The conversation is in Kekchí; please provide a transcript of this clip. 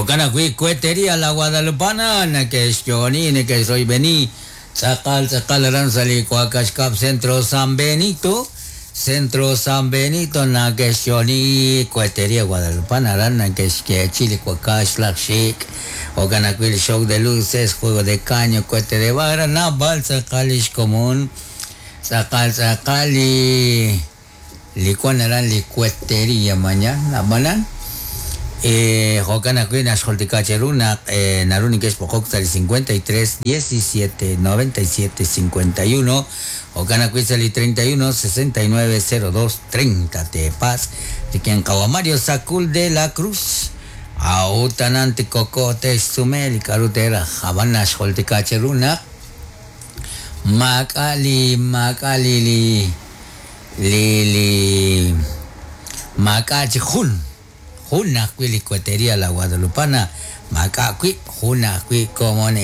Jo'kan ajwi' Cohetería La Guadalupana neke'xyo'oni neke'xroyb'eni tz'aqal tz'aqal aran sa' li Wakax Kab' Centro San Benito. Centro San Benito neke'xyo'oni Cohetería Guadalupana aran neke'xyeechi li wakax laj xik'. Jo'kan ajwi' li show de luces, juego de caño, cohete de barra, naab'al tz'aqal li xkomon. Tz'aqal tz'aqal li li wan aran li Cohetería mañana ab'anan jo'kan ajwi' naxjultika cheru naq naru neke'xb'oqok sa' li 53 17 97 51 jo'kan ajwi' sa' li 31 69 02 30 teepatz' rik'in qawa Mario Sacul de la Cruz a'ut anan tikoko te'xsume li k'a'ru teeraj ab'an naxjultika cheru naq maak'a' li maak'a' li li li li maak'a' chi jun jun ajwi' li Cohetería La Guadalupana maak'a' wi' jun ajwi' komon.